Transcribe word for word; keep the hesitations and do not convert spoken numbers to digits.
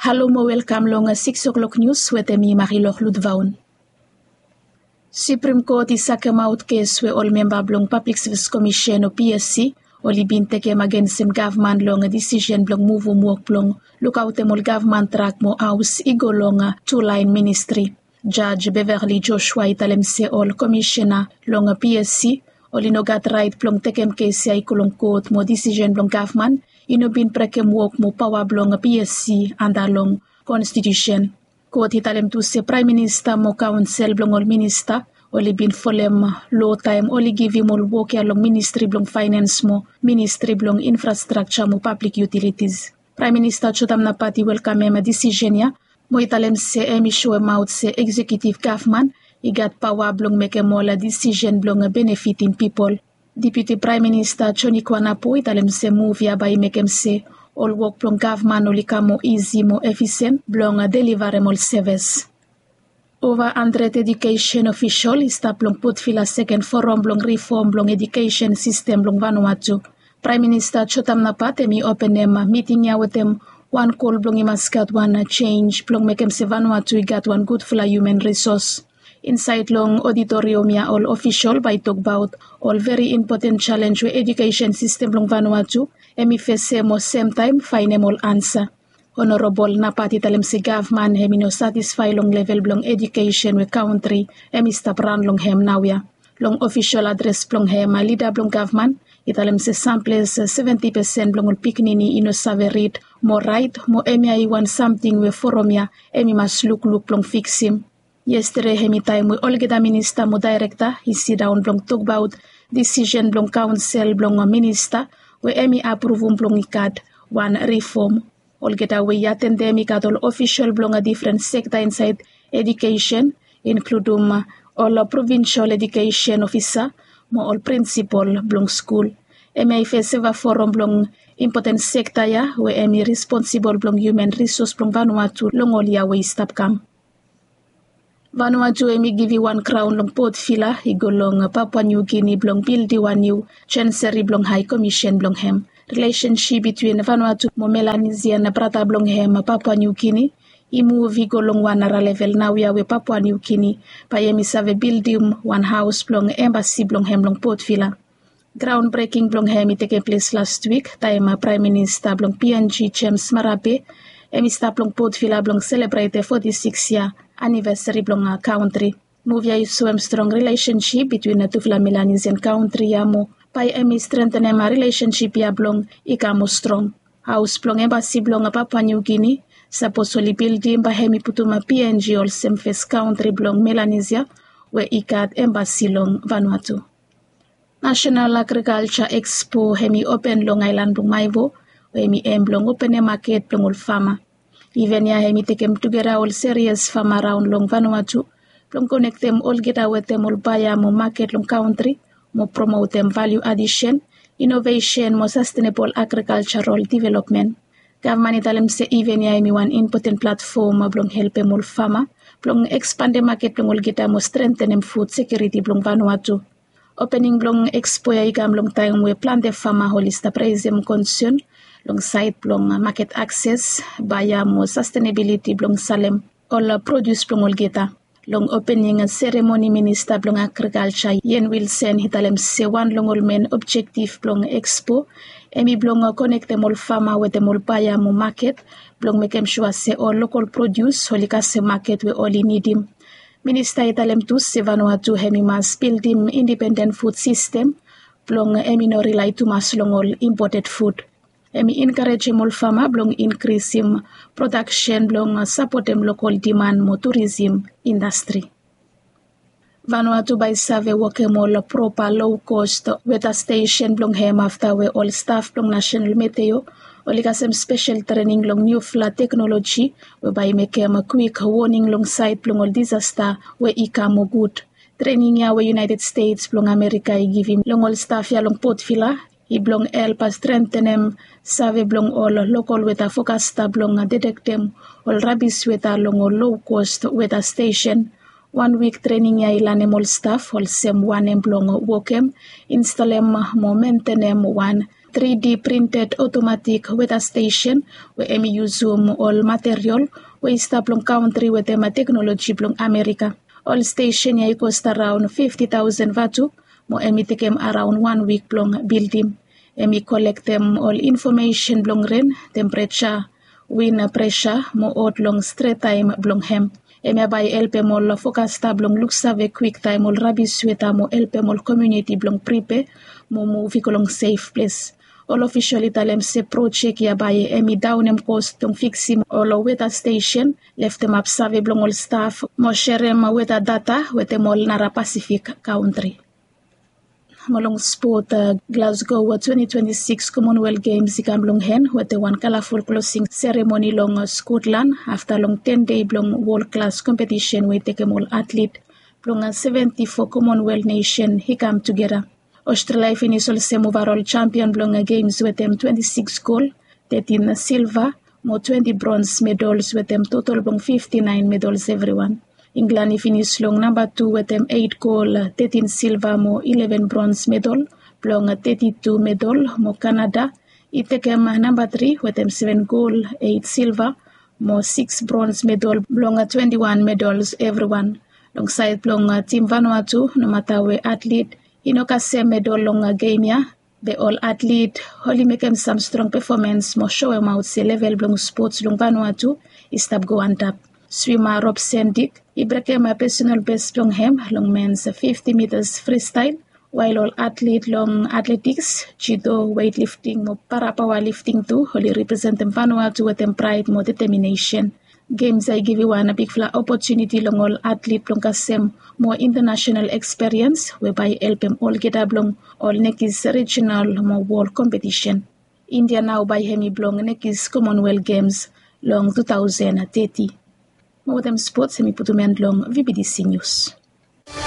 Halo mo welkam long siks o'klok nius wetem mi, Marilok Lutvaun. Supreme Court i sakemaot kes we ol memba blong Public Service Commission o P S C oli bin tekem agensem gavman long disisen blong muvum wok blong lukaotem ol gavman trak mo haos i go long tu laen ministri. Jaj Beverly Joshua i talem se ol komisena long P S C oli no gat raet blong tekem kes ya i go long kot mo disisen blong gavman i no bin brekem wok mo paoa blong P S C anda long konstitusen. Kot i talem tu se praem minista mo kaonsel blong ol minista oli bin folem lo taem oli givim ol wok ya long ministri blong faenens mo ministri blong infrastrakja mo pablik yutilitis. Praem Minista Jotam Napat i welkamem disisen ya mo i talem se hem i soemaot se eksekiutiv gavman i gat paoa blong mekem ol disisen blong benefitim pipol. Deputi Praem Minista Joni Kuanapu i talem se muv ya bae i mekem se ol wok blong gavman oli kam moa isi, moa efisen blong delivarem ol sevis. Ova handred edukesen ofisol i stap long Potvila seken foram blong rifom blong edukesen sistem blong Vanuatu. Praem Minista Jotam Napat hem i openem miting ya wetem wan gol blong i mas gat wan jenj blong mekem se Vanuatu i gat wan gudfala hiuman risos. Insaed long oditoriam ya ol ofisol bae i tokbaot ol veri impoten jalenj we edukesen sistem blong Vanuatu hem i fesem mo semtaem faenem ol ansa. Honorabol Napat i talem se gavman hem i no satisfae long level blong edukesen we kantri hem i stap ran long hem naoia. Long ofisol adres blong hem, lida blong gavman i talem se samples seventi pesen blong ol pikinini i no save rid mo raet mo hemia i wan samting we foram ya hem i mas lukluk blong fiksim. Yestede hem i taem we olgeta minista mo daerekta i sidaon blong tokbaot disisen blong kaonsel blong minista we hem i apruvum blong i gat wan rifom. Olgeta we i atendem i gat ol ofisol blong difren sekta insaed edukesen, inkludum ol provinsol edukesen ofisa mo ol prinsipol blong skul. Hemia i fes eva foram blong impoten sekta ya we hem i responsibol blong hiuman risos blong Vanuatu long ol yia we i stap kam. Vanuatu hem i givim wan graon long Potvila i go long Papua Niu Gini blong bildim wan niu janseri blong Hae Komisen blong hem. Rilesensip bitwin Vanuatu mo Melanisia na brata blong hem Papua Niu Gini i muv i go long wan nara level naoia we Papua Niu Gini bae hem i save bildim wan haos blong embasi blong hem long Potvila. Graon breking blong hem i tekem ples las wik taem Praem Minista blong P N G James Marape hem i stap long Potvila blong selebretem foti siks yia anivesari blong kantri. Muv ya i soem strong rilesensip bitwin tufala Melanesian kantri ya mo bae hem i strentenem rilesensip ya blong i kam moa strong. Haos blong embasi blong Papua Niu Gini sapos oli bildim bae hem i putum P N G olsem fes kantri blong Melanesia we i gat embasi long Vanuatu. Nasenal Agrikalja Ekspo hem i open long aelan blong Maevo we hem i hem blong openem maket blong ol fama. Iven ya hem i tekem tugeta ol serias fama raon long Vanuatu blong konektem olgeta wetem ol baea mo maket long kantri mo promotem valiu adisen, inovesen mo sastenebol agrikaljaral developmen. Gavman i talem se iven ya hem i wan impoten platfom blong helpem ol fama blong ekspandem maket blong olgeta mo strentenem fud sekiuriti blong Vanuatu. Opening blong ekspo ya i kam long taem we plante fama oli stap resem konsen long saed blong maket akses, baea mo sastenebiliti blong salem ol produs blong olgeta. Long opening seremoni Minista blong Agrikalja Ian Wilson i talem se wan long ol men objektif blong ekspo hem i blong konektem ol fama wetem ol baea mo maket blong mekem sua se ol lokol produs oli kasem maket we oli nidim. Minista i talem tu se Vanuatu hem i mas bildim indipenden fud sistem blong hem i no rilae tumas long ol impoted fud. Hem i enkarejem ol fama blong inkrisim prodaksen blong sapotem lokol diman mo turisim indastri. Vanuatu bae i save wokem ol propa low cost weta stesen blong hem afta we ol staf blong Nasenal Meteo oli kasem spesel trening long niufala teknoloji we bae i mekem kwik woning long saed blong ol disasta we i kam mo gud. Trening ya we United States blong Amerika i givim long ol staf ya long Potvila i blong help strentenem save blong ol lokol weta fokasta blong detektem ol rabis weta long ol low cost weta stesen. Wan wik trening ya i lanem ol staf olsem wanem blong wokem, instalem mo mentenem wan tri D printed automatic weather station we hemi yusum ol material we i stap long kantri wetem teknoloji blong Amerika. Ol station ia i cost around fifty thousand vatu, mo hemi tekem around one week blong bildim. Hemi kolektem ol information blong ren, temperature, wind pressure mo ot long stret taem blong hem. Hemia bae i helpem ol fokasta blong luksave kwiktaem ol rabis weta mo helpem ol komuniti blong pripe mo muv i go long sef ples. Ol ofisol i talem se projek ia bae hemi daonem kos blong fiksim ol weta stesen, leftemap save blong ol staf mo serem weta data wetem ol nara Pasifik kantri. Mo long spot, Glasgow twenty twenty-six Commonwealth Games i kam long hen wetem wan kalaful klosing seremoni long Skotlan afta long ten dei blong wol klas kompetisen we i tekem ol atlet blong seventy-four Commonwealth nesen i kam tugeta. Australia i finis olsem overall champion blong Games wetem twenty-six gold, thirteen silver mo twenty bronze medals wetem total blong fifty-nine medals evriwan. England i finis long namba tu wetem eight gold, thirteen silver mo eleven bronze medal blong thirty-two medal mo Canada i tekem namba tri wetem seven gold, eight silver mo six bronze medal blong twenty-one medals evriwan. Long saed blong tim Vanuatu, nomata we atlet i no kasem medal long gem ia, be ol atlet oli mekem sam strong pefomens mo soemaot se level blong spots long Vanuatu i stap go antap. Swima Rob Sendik i brekem pesenal bes blong hem long mens fifti mitas fristael, wael ol atlet long atletiks, judo, weitlifting mo parapaoa lifting tu oli representem Vanuatu wetem praed mo deteminesen. Gems ia i givim wan bigfala opotuniti long ol atlet blong kasem moa intanasenal eksperiens we bae i helpem olgeta blong ol nekis rijinal mo wol kompetisen. India nao bae hemi blong nekis Commonwealth Games long two thousand thirty. Mo wetem spots hemi putum en long VBTC News.